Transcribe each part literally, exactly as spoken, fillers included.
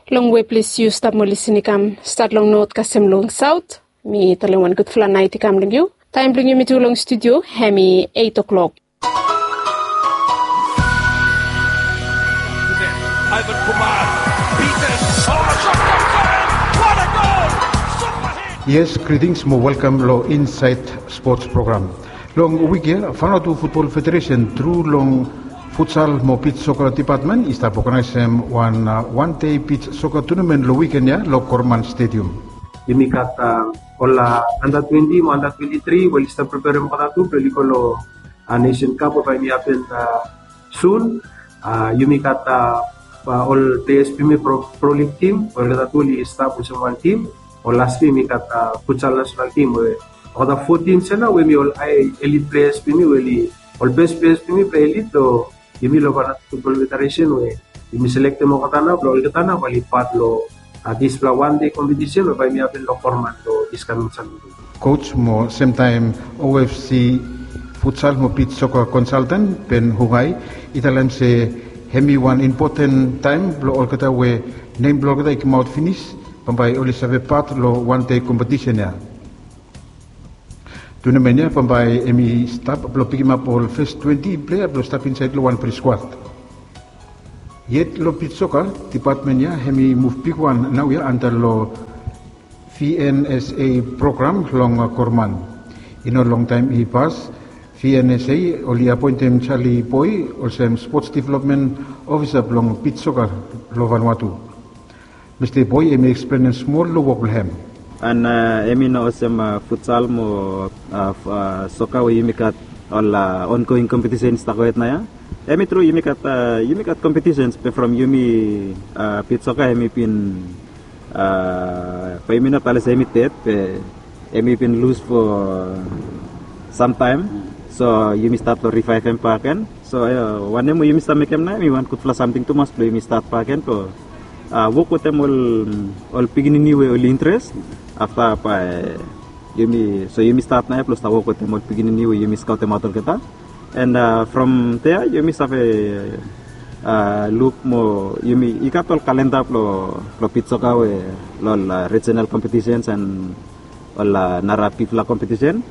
Long we ples yu stap mo lisin i kam, stat long not kasem long saut, mi talem wan gudfala nait i kam long yu. Taem blong yumi tu long studio hemi eit o'klok. Yes, greetings mo welkam long Inside Sports program. Long wik ya Vanuatu Futbol Federesen tru long futsal mo bits soka depatmen i stap oganaesem wan wan dei bits soka tunamen long wiken ya long Korman Stadium. Yumi gat ol anda twenti mo anda twenti tri we oli stap preperem olgeta tu blong oli go long Nation Cup we bae hemi hapen sun. Yumi gat ol pleas blong yumi pro lig tim we olgeta tu oli stap olsem wan tim. Ol las yia yumi gat futsal nasenal tim we olgeta fo tims ya nao we hemi ol hae elit pleas blong yumi we oli ol bes pleas blong yumi blong elit long yumi long Vanuatu Futbol Federesen we yumi selektem olgeta nao blong olgeta nao bae oli pat long dispela wan dei kompetisen we bae hemi hapen long Korman long dis kaming Satade. Coach mo semtaem O F C futsal mo bits soka konsalten Ben Hungai i talem se hemi wan impoten taem blong olgeta we nem blong olgeta i kamaot finis bambae oli save pat long wan dei kompetisen ya. Tunamen ya bambae hemi stap blong pikimap ol fes twenti plea blong stap insaed long wanpela skuad. Yet long bits soka depatmen ya hemi muv bigwan naoia anta long V N S A program long Korman. I no longtaem i pas V N S A oli apoentem Charlie Boy olsem spots developmen ofisa blong bits soka long Vanuatu. Mista Boy hemi eksplenem smol long wok blong hem. An hemi no olsem futsal mo soka we yumi gat ol ongoing kompetisen i stap gohed naoia. Hemi tru yumi gat yumi gat kompetisens be from yumi bits soka hemi bin bae yumi no talem se hemi ded be hemi bin lus fo samtaem. So yumi stat long rivaevem bakegen. So wanem we yumi stap mekem nao hemi wan gudfala samting tumas blong yumi stat bakegen blong wok wetem ol pikinini we oli interes. Afta bae yumi so yumi stat nao blong stap wok wetem ol pikinini we yumi skaotemaot olgeta. And from dea yumi save luk mo yumi i gat ol kalenda blong bits soka we long ol rijenal kompetisens and ol nara bigfala kompetisen.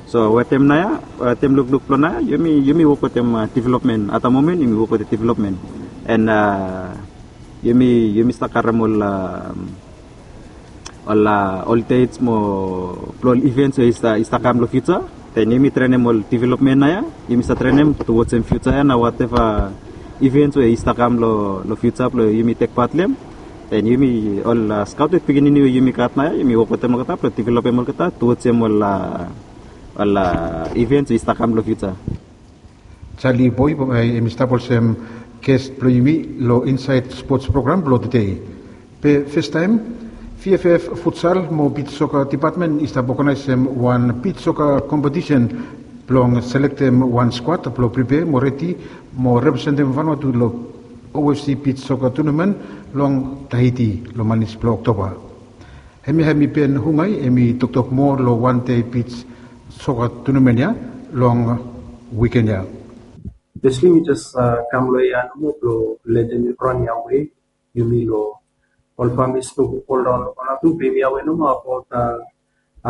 So wetem naoia wetem lukluk blong naoia yumi wok wetem developmen. At the moment yumi wok wetem developmen. And yumi yumi stap karem ol ol ol dets mo blong ol ivens we i stap kam long fiuja. Den yumi trenem ol developmen naoia yumi stap trenem towards em fiuja ya na wateva ivens we i stap kam long fiuja blong yumi tek pat long em. Den yumi ol skaoted pikinini we yumi gat naoia yumi wok wetem olgeta blong developem olgeta towards em ol ol ivens we i stap kam long fiuja. Charlie Boy hemi stap olsem ges blong yumi long Inside Sports program blong tede. Be festaem V F F futsal mo bits soka depatmen i stap oganaesem wan bits soka kompetisen blong selektem wan skuad blong pripea mo redi mo representem Vanuatu long O F C bits soka tunamen long Tahiti long manis blong Oktoba. Hemia hemi Ben Hungai hemi toktok moa long wan dei bits soka tunamen ya long wiken ya. Tasli mi jes kam long hia nomo blong letem yu ran hia we yumi long ol famis blong ol raon long Vanuatu be mi awe nomo abaot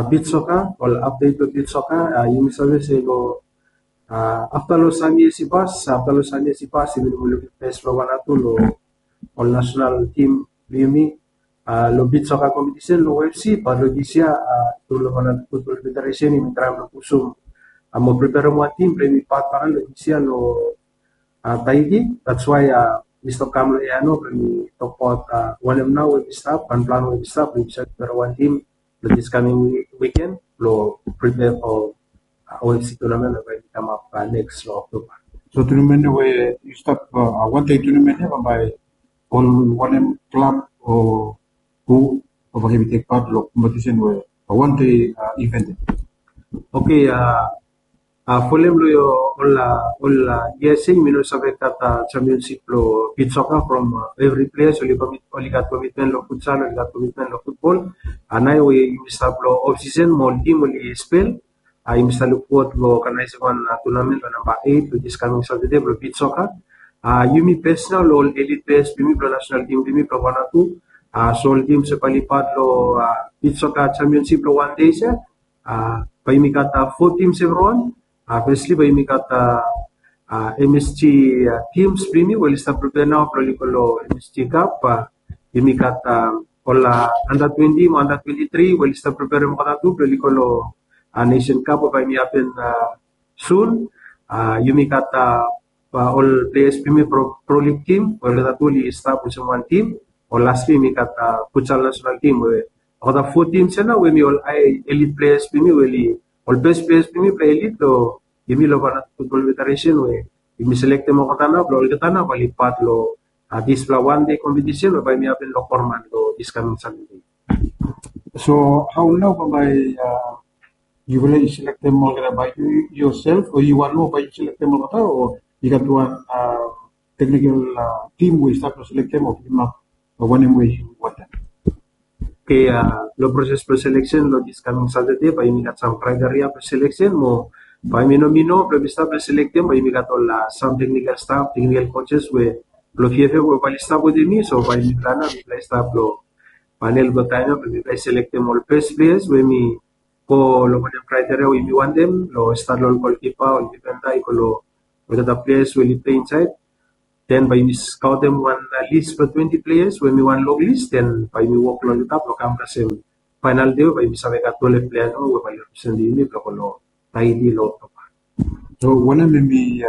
bits soka ol apdet blong bits soka. Yumi save se long afta long sam yias i pas afta long sam yias i pas yumi no moa lukim fes blong Vanuatu long ol nasenal tim blong yumi long bits soka kompetisen long O F C. Bat long dis yia tru long Vanuatu Futbol Federesen yumi traem long pusum mo preperem wan tim blong yumi pat baken long dis yia long Tahiti. That's why mi stap kam long hia nao blong mi tokbaot wanem nao we mi stap and plan we mi stap blong yumi save preperem wan tim long dis kaming wiken blong prepare for O F C tournament we bae i kamap neks long Oktoba. So tournament we yu stap wan dei tournament ya bambae ol wanem klab o hu bae hemi tek pat long kompetisen we wan dei event ya? Oke, folem long ol ol yia se yumi no save gat championship long bits soka from evri pleas oli gat komitmen long futsal oli gat komitmen long futbol. Nao we yumi stap long ofsisen mo ol tim oli spel. Yumi stap lukfowod long oganaesem wan tunamen long namba eit long dis kaming Satade blong bits soka. Yumi bes nao long ol elit pleas blong yumi blong nasenal tim blong yumi blong Vanuatu. So ol tims we bae oli pat long beach soccer championship long wan dei se, bae yumi gat fo tims evriwan. Fesli bae yumi gat M S G tims blong yumi we oli stap prepare nao blong oli go long M S G Cup. Yumi gat ol under twenty mo under twenty three we oli stap preparem olgeta tu blong oli go long Nation Cup we bae yumi hapen sun. Yumi gat ol players blong yumi from Pro League team we olgeta tu oli stap olsem wan team. Ol lastli yumi gat futsal national team we olgeta fo teams ya nao we hemi ol high elite players blong yumi we oli ol best players blong yumi blong elite long yumi long Vanuatu Football Federation we yumi selektem olgeta nao blong olgeta nao bae oli pat long dispela wan dei competition we bae yumi hapen long Korman long dis coming Saturday. So hao nao bambae yufala i selektem olgeta, bae yu yoself o yu wan moa bae yu selektem olgeta, o i gat wan teknikal tim we i stap long selektem o pilimap wanem we yu wantem? Oke, long proses blong seleksen long dis coming Saturday bae yumi gat sam kriteria blong seleksen mo bae yumi no mi no blong yumi stap long selektem bae yumi gat ol sam teknikal staf, teknikal coaches we blong P F F we bae oli stap wetem mi. So bae mipela nao mipela i stap long panel blong taem ya blong mipela i selektem ol best players we mi go long wanem kriteria we yumi wantem, long stat long ol golkipa, ol difenda, i go long olgeta players we oli plei insaed. Den bae yumi skaotem wan lis blong twenty players we mi wan long lis, den bae yumi wok long olgeta blong kam kasem faenal dei we bae yumi save gat twelve players nao we bae oli representem yumi blong go long Tahiti long Oktoba. So wanem hemi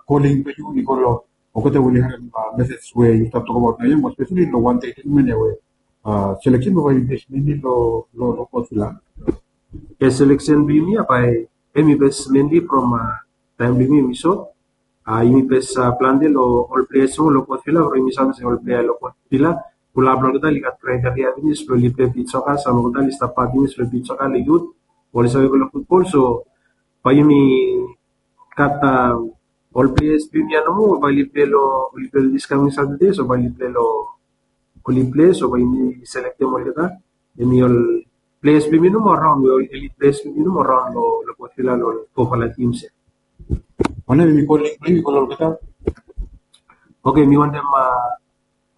calling blong yu i go long olgeta we oli harem message we yu stap tokbaot naoia, mo especially long wan dei treatment ya we seleksen blong bae yumi base mainly long long long coach vila. Yes, seleksen blong yumi ya bae hemi base mainly from taem blong yumi yumi sot. Yumi base plante long ol players long long coach vila, from yumi save se ol player long coach vila, pulap long olgeta oli gat kriteria finis blong oli plei beach soccer, sam olgeta oli stap pat finis long beach soccer long youth, oli save go long futbol. So bae yumi gat ol players blong yumi ya nomo bae oli plei long, oli plei long dis coming Saturday, so bae oli plei long, oli plei, so bae yumi selektem olgeta. Hemi ol players blong yumi nomo raon we ol elite players blong yumi nomo raon long long coach vila long ol fofala teams ya. Wanem hemi calling blong yu i go long olgeta? Oke, mi wantem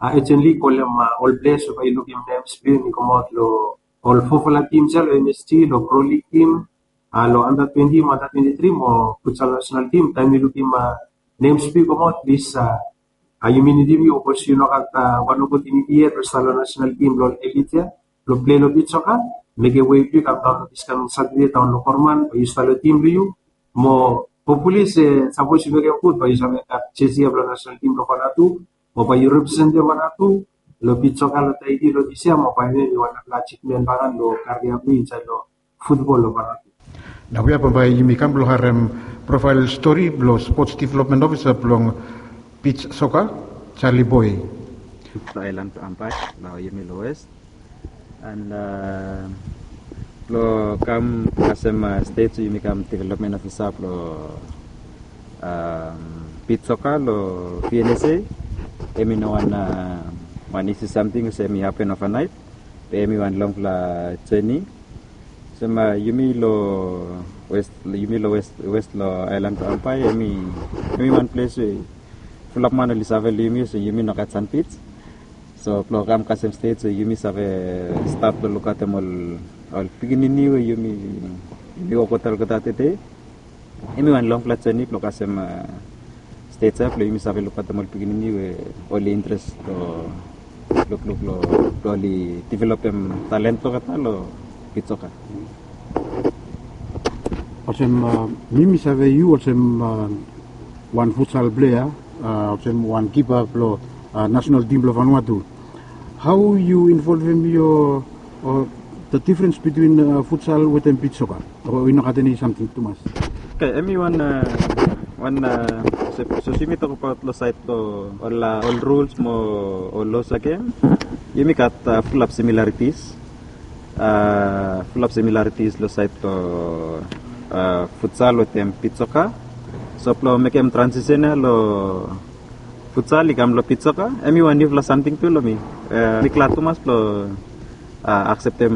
urgently kolem ol players we bae i lukim names blong yumi i kamaot long ol fofala teams ya long M S G, long Pro League team, long under twenty mo under twenty three mo futsal national team. Taem mi lukim names blong yu i kamaot, plis, yumi nidim yu, sapos yu no gat wan opotuniti yet blong stap long national team blong ol elite ya blong plei long beach soccer, mekem wei blong yu i kam daon long dis coming Saturday daon long Korman, bae yu stap long tim blong yu. Mo hopefully se sapos yu mekem gud bae yu save gat jersey ya blong national team blong Vanuatu, mo bae yu representem Vanuatu long beach soccer long Tahiti long dis yia, mo bae hemi wan narafala achievement bakegen long career blong yu insaed long futbol long Vanuatu. Naoia bambae yumi kam blong harem profile story blong Sports Development Officer blong beach soccer, Charlie Boy. Long aelan blong Ambae, long yumi long West. And blong kam kasem state, so yumi kam development officer blong beach soccer long P N S A. Hemi no wan wan isi samting olsem hemi hapen overnight. Be hemi wan longfala journey. Olsem yumi long West, yumi long West, West long aelan blong Ambae, hemi, hemi wan ples we fulap man oli save long yumi olsem yumi no gat sand beach. So blong kam kasem state, so yumi save stat blong lukaotem ol, ol pikinini we yumi, yumi wok wetem olgeta tede. Hemi wan longfala journey blong kasem state ya blong yumi save lukaotem ol pikinini we oli interes long lukluk long blong oli developem talent blong olgeta long beach soccer. Olsem mi, mi save yu olsem wan futsal player, olsem wan kipa blong national team blong Vanuatu. Hao yu involvem yu, o the difference between futsal wetem beach soccer? O i no gat eni samting tumas? Oke, hemi wan, wan, sapos yumi tokbaot long saed blong ol, ol rules mo ol laws agen, yumi gat fulap similarities. Fulap similarities long saed blong futsal wetem beach soccer. So blong mekem transition ya long futsal i kam long beach soccer, hemi wan niufala samting tu long mi. Mi glad tumas blong akseptem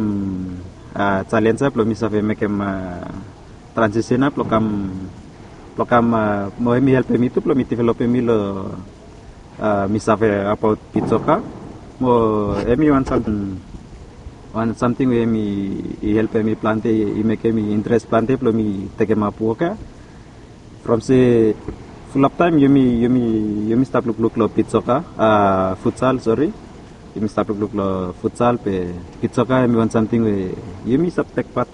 challenge ya blong mi save mekem transition ya blong kam, blong kam, mo hemi helpem mi tu blong mi developem mi long, mi save abaot beach soccer. Mo hemi wan samting, wan samting we hemi helpem mi plante, i mekem mi interes plante blong mi tekemap wok ya. From se fulap taem yumi, yumi, yumi stap lukluk long beach soccer, a, futsal, sori. Yumi stap lukluk long futsal, be beach soccer hemi wan samting we yumi stap tek pat,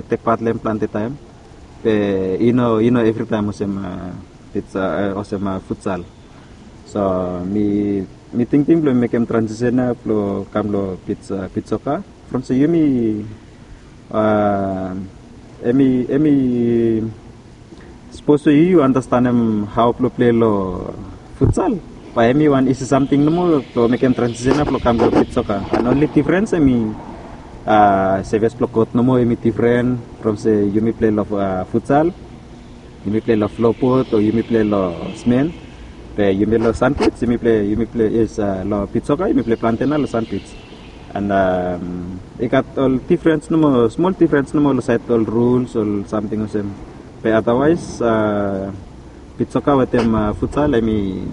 tek pat long hem plante taem. Be i no, i no evritaem olsem, a, beach, a, olsem, a, futsal. So mi, mi tingting blong mekem transition ya blong kam long beach, a, beach soccer. From se yumi, a, hemi, hemi sapos we yu andastanem hao blong plei long futsal, bae hemi wan isi samting nomo blong mekem transition ya blong kam long beach soccer. And only difference hemi, a, surface blong kot nomo hemi different. From se yumi plei long, a, futsal, yumi plei long floorboard o yumi plei long cement. Be yumi long sand pitch, yumi plei, yumi plei, yes, a, long beach soccer yumi plei plante nao long sand pitch. And, a, i gat ol difference nomo, smol difference nomo long saed ol rules o samting olsem. Be otherwise, a, beach soccer wetem, a, futsal hemi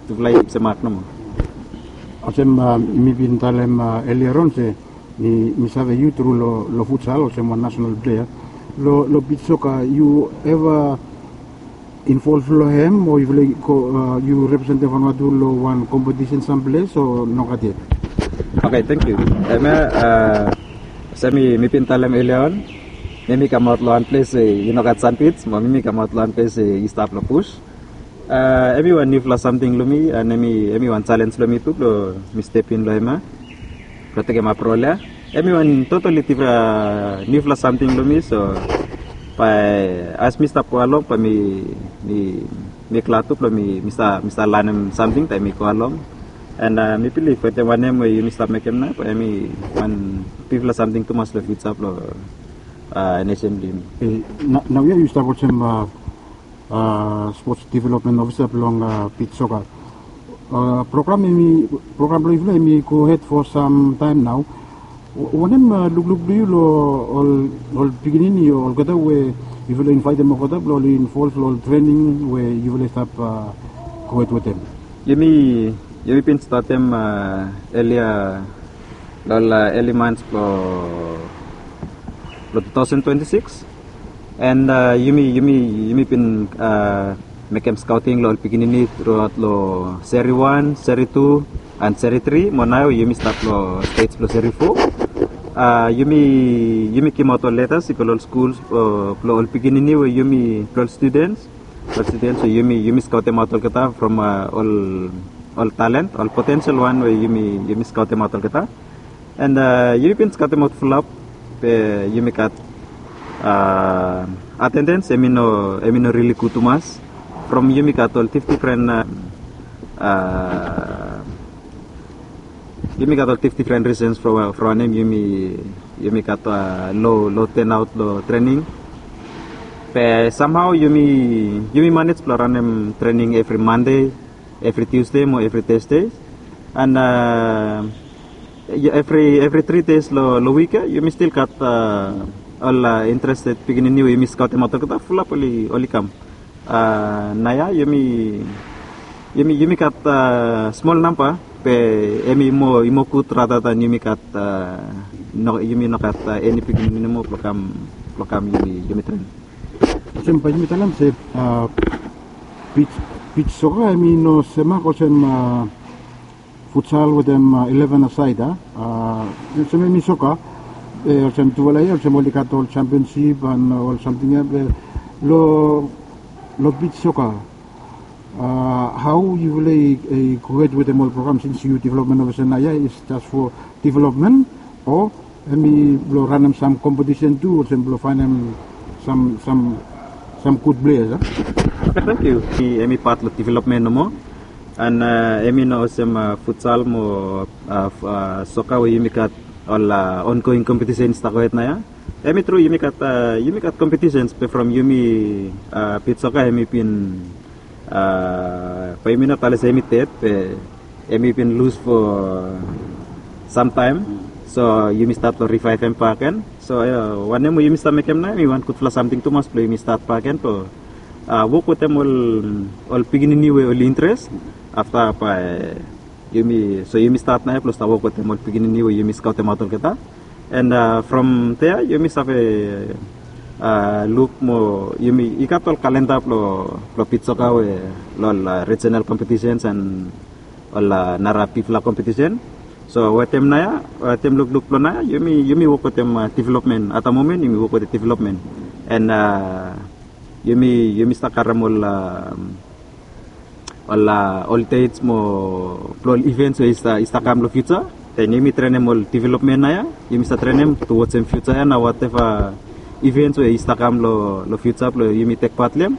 tufala i semak nomo. Olsem, a, mi bin talem, a, earlier on se mi, mi save yu tru long, long futsal olsem wan national player. Long, long beach soccer, yu eva involve long hem o yufala i go, a, yu representem Vanuatu long wan kompetisen samples o nogat yet? Okay, thank you. Hemia, a, olsem mi, mi bin talem earlier on, mi, mi kamaot long wan ples we i nogat sand pitch, mo mi, mi kamaot long wan ples we i stap long bush. A, hemi wan niufala samting long mi, and hemi, hemi wan challenge long mi tu blong mi step in long hemia blong tekemap rol ya. Hemi wan totally dif-, a, niufala samting long mi, so bae as mi stap go along bae mi, mi, mi glad tu blong mi, mi stap, mi stap lanem samting taem mi go along. And, a, mi bilif wetem wanem we yumi stap mekem nao, bae hemi wan bigfala samting tumas long future blong, a, nesen blong yumi. E, nao, naoia yu stap olsem, a, a, sports development officer blong, a, beach soccer. A, program hemi, program blong yufala hemi go hed for sam taem nao. Wa-, wanem, a, lukluk blong yu long ol, ol pikinini o olgeta we yufala invaetem olgeta blong oli involve long ol trening we yufala i stap, a, go hed wetem? Yumi, yumi bin statem, a, earlier, long ol, a, early months blong, blong two thousand twenty-six. And, a, yumi, yumi, yumi bin, a, mekem scouting long ol pikinini throughout long Seri wan, Seri tu, and Seri tri, mo nao yumi stap long stage blong Seri fo. A, yumi, yumi givemaot ol letters i go long ol schools, o, blong ol pikinini we yumi, blong ol students, ol students we yumi, yumi scoutemaot olgeta from, a, ol, ol talent, ol potential wan we yumi, yumi scoutemaot olgeta. And, a, yumi bin scoutemaot fulap, be yumi gat, a, attendance hemi no, hemi no really gud tumas. From yumi gat ol dif-, difren, a, a, yumi gat ol dif-, difren reasons from, from wanem yumi, yumi gat, a, lo, lo turnout long trening. Be somehow yumi, yumi manage blong ranem trening evri Monday, evri Tuesday mo evri Thursday. And, a, evri, evri three days long, long wik ya, yumi stil gat, a, ol, a, interested pikinini we yumi scoutemaot olgeta, fulap oli, oli kam. A, naoia yumi, yumi, yumi gat, a, smol namba, be hemi moa, i moa gud rather than yumi gat, a, no, yumi no gat, a, eni pikinini nomo blong kam, blong kam yumi, yumi train. Olsem bae yumi talem se, a, beach, beach soccer hemi no semak olsem, a, futsal wetem, a, eleven a side, a. A, olsem hemi soccer, e, olsem tufala ia, olsem oli gat ol championship and, a, ol samting ia, be long, long beach soccer, a, hao yufala i, i go hed wetem ol program since yu development officer naoia, is just for development, o hemi blong ranem sam competition tu, olsem blong faenem sam, sam, sam gud players, a? Okay, thank you. Hemi, hemi pat long development nomo. And, a, hemi no olsem, a, futsal mo, a, f-, a, soccer we yumi gat ol, a, ongoing competition i stap gohed naoia. Hemi tru yumi gat, a, yumi gat competitions be from yumi, a, beach soccer hemi bin, a, bae yumi no talem se hemi ded, be hemi bin lus fo samtaem. So yumi stat long rivaevem bakegen. So, a, wanem we yumi stap mekem nao hemi wan gudfala samting tumas blong yumi stat bakegen blong, a, wok wetem ol, ol pikinini we oli interes. Afta bae Yumi, so yumi stat nao ya blong stap wok wetem ol pikinini we yumi skaotemaot olgeta. And from dea yumi save luk mo yumi i gat ol kalenda blong bit soka we long ol regional competitions and ol nara bigfala competition. So wetem nao ya, wetem lukluk blong nao ya, yumi wok wetem development. At the moment yumi wok wetem development. And yumi yumi stap karem ol ol ol dates mo blong ol events we i stap kam long future. Then yumi trenem ol development nao ya, yumi stap trenem towards em future ya na whatever events we i stap kam long future blong yumi tek part long em.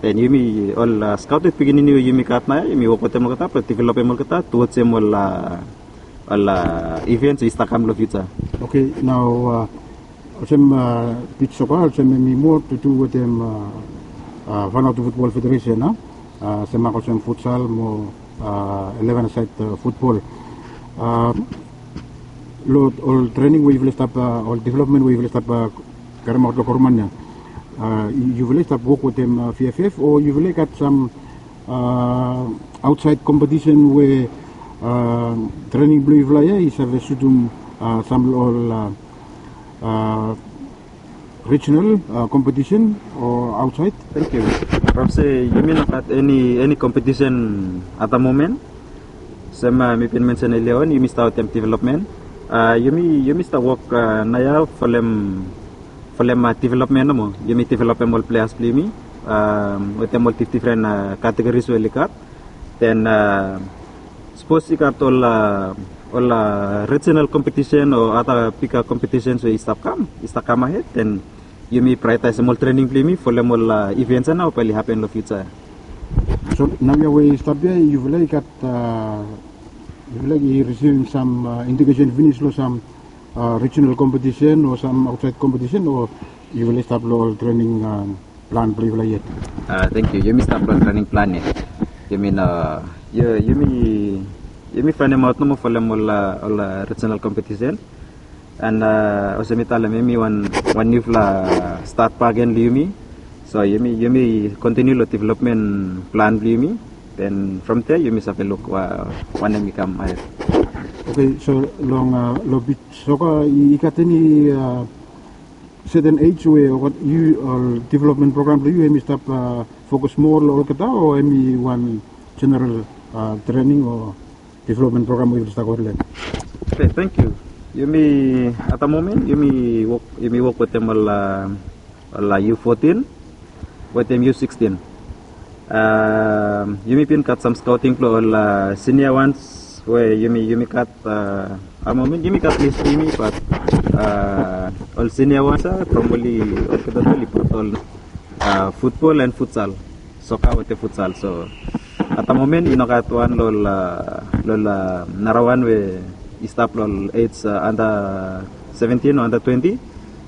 Then yumi ol scouted pikinini we yumi gat nao ya, yumi wok wetem olgeta blong developem olgeta towards em ol ol events we i stap kam long future. Okay, nao olsem bit soka olsem em i moa to do wetem Vanuatu Football Federation, a, semak olsem futsal mo eleven side football. Long ol trening we yufala i stap, ol development we yufala i stap karemaot long gavman ya, yufala i stap wok wetem V F F o yufala i gat sam aotsaed kompetisen we trening blong yufala ya i save sutum sam long ol regional kompetisen o aotsaed? Thank you. From se yumi no gat eni eni kompetisen at the moment. Sem mi bin mensen earlier on, yumi stap wetem development. Yumi yumi stap wok nao ya folem folem development nomo. Yumi developem ol players blong yumi wetem ol difdifren categories we oli gat. Then sapos i gat ol ol regional competition o other bigger competitions we i stap kam i stap kam ahed, then yumi prioritaisem ol trening blong yumi folem ol events ya nao we bae oli hapen long future. So naoia we i stap ya yufala i gat yufala i risivim sam indikesen finis long sam regional kompetisen o sam aotsaed kompetisen o yufala i stap long ol trening plan blong yufala yet? Thank you. Yumi stap long trening plan yet. Yumi no yumi yumi faenemaot nomo folem ol ol regional kompetisen. And olsem mi talem, em i wan wan niufala stat bak gen long yumi. So yumi yumi kontiniu long development plan blong yumi. Then from there yumi save luk wanem i kam ahed. Okay, so long long bit soka i gat eni certain age we yu ol development program blong yu em i stap fokus moa long olgeta o em i wan general trening o development program we yufala i stap go long? Okay, thank you. Yumi at the moment yumi wok yumi wok wetem ol ol U fourteen wetem U sixteen. Yumi bin gat sam scouting blong ol senior ones we yumi yumi gat at the moment yumi gat list blong yumi, but ol senior ones ya from oli olgeta oli pat ol football and futsal, soka wetem futsal. So at the moment i no gat wan long ol nara wan we i stap long ol age under seventeen o under twenty.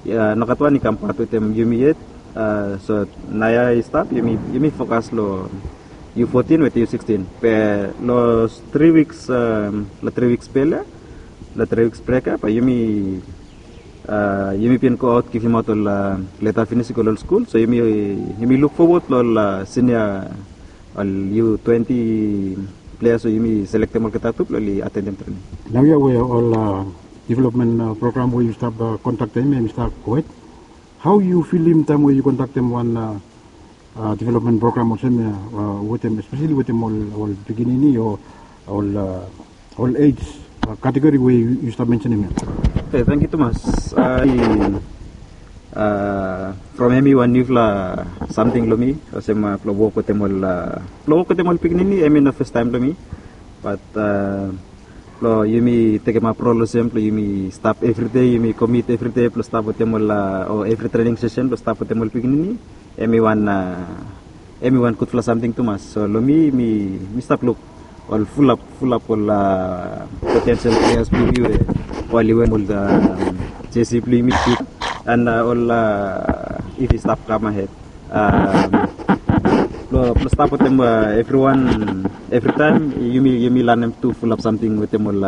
No gat wan i kam pat wetem yumi yet. So naoia i stap yumi yumi fokas long U fourteen wetem U sixteen. Be long tri wiks long tri wiks bel ya, long tri wiks brek ya bae yumi yumi bin go aot givimaot ol leta finis i go long ol skul. So yumi yumi luk fowod long ol senior ol U twenty players we yumi selektem olgeta tu blong oli atendem trening. Naoia we ol development program we yu stap kondaktem em i stap gohed. Hao yu filim taem we yu kondaktem wan development program olsem ya wetem espeseli wetem ol pikinini o ol ol age kategori we yu stap mensenem ya? Tangkiu tumas. From em i wan niufala samting long mi olsem blong wok wetem ol blong wok wetem ol pikinini em i no fastaem blong mi. Bat blong yumi tekemap rol olsem blong yumi stap evridei, yumi komit evridei blong stap wetem ol o evri trening sesen blong stap wetem ol pikinini, em i wan em i wan gudfala samting tumas. So long mi mi mi stap luk ol fulap fulap ol potensel pleas blong yumi we oli werim ol jesi blong yumi, an ol if i stap kam ahed blong stap wetem evriwan. Evritaem yumi yumi lanem tu fulap samting wetem ol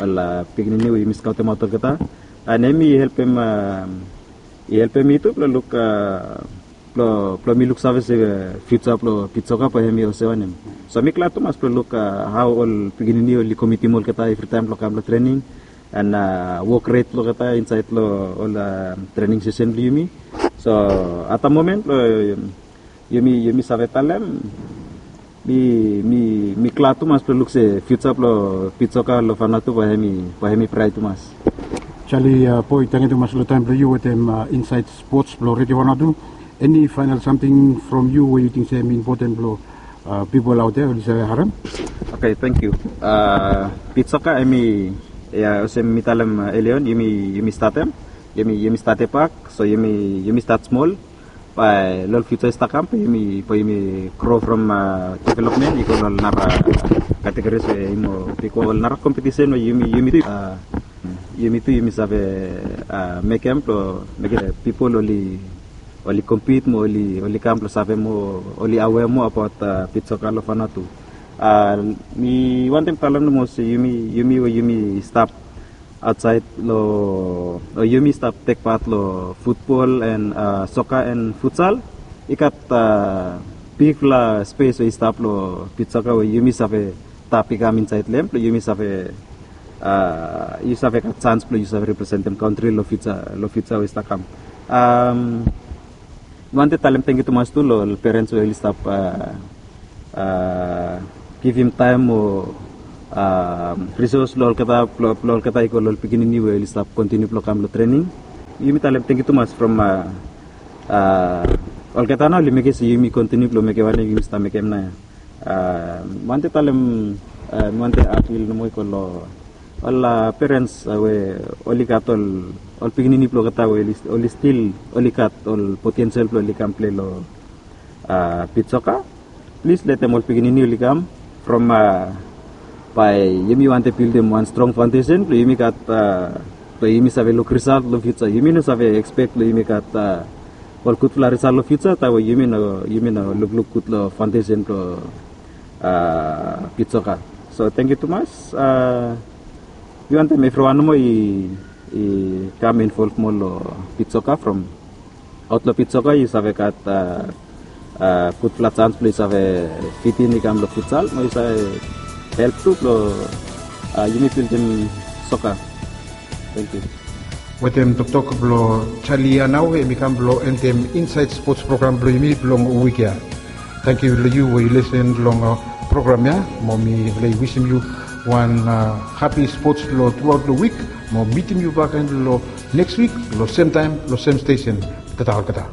ol pikinini we yumi skaotemaot olgeta, an em i helpem i helpem mi tu blong luk Blong mi luksave se fiuja blong pitsoka bae hemi olsem wanem. So mi glad tumas blong luk hao ol pikinini oli komitim olgeta evritaem blong kam long trening, and wok ret blong olgeta insaed long ol trening sesen blong yumi. So at da momen blong yumi yumi save talem, mi glad tumas blong luk se fiuja blong pitsoka long Vanuatu bae hemi bae hemi braet tumas. Jali, boe, tangkiu tumas long taem blong yu wetem insaed spots blong Redio Vanuatu. Eni faenal samting from yu we yu ting se hemi impoten blong pipol aotea oli save harem? Oke, tangkiu. Pitsoka hemi, ya, olsem mi talem elion, yumi yumi statem, yumi yumi stati bak. So yumi yumi stat smol. Bae long ol fiuja i stap kam bae yumi gro from developmen i go long ol nara kategoris we i mo bigwan, ol nara kompetisen we yumi yumi tu yumi tu yumi save mekem blong mekem pipol oli oli kompit mo oli oli kam blong save moa, oli awea moa abaot pitsoka long Vanuatu. Mi wantem talem nomo se yumi yumi we yumi stap aotsaed long, o yumi stap tek pat long futbol and soka and futsal, i gat bigfala spes we i stap long pitsoka we yumi save tap i kam insaed long hem blong yumi save yu save gat sans blong yu save representem kantri long fiuja long fiuja we i stap kam. Mi wantem talem tangkiu tumas tu long ol perens we oli stap givim taem o risos long olgeta blong olgeta i go long ol pikinini we oli stap kontiniu blong kam long trening. Yumi talem tangkiu tumas from olgeta nao oli mekem se yumi kontiniu blong mekem wanem yumi stap mekem nao ya. Mi wantem talem, mi wantem apil nomo i go long ol perens we oli gat ol ol pikinini blong olgeta we oli stil oli gat ol potensel blong oli kam plei long pitsoka. Plis letem ol pikinini oli kam from bae yumi wantem bildim wan strong faondesen blong yumi gat blong yumi save luk risalt long fiuja. Yumi no save ekspek blong yumi gat ol gudfala risalt long fiuja taem we yumi no yumi no lukluk gud long faondesen blong pitsoka. So tangkiu tumas. Mi wantem evriwan nomo i i kam involv moa long pitsoka from aot long pitsoka yu save gat gudfala sans blong yu save fitin i kam long futsal mo yu save help tu blong yumi bildim soka. Tangkiu. Wetem toktok blong Charlie Anau, em i kam blong endem Inside Sports program blong yumi blong wik ya. Tangkiu long yu we yu lisen long program ya, mo mi laik wisim yu wan hapi sports long truaot long wik, mo mitim yu bakegen long neks wik long sem taem long sem stesen. Tata olgeta.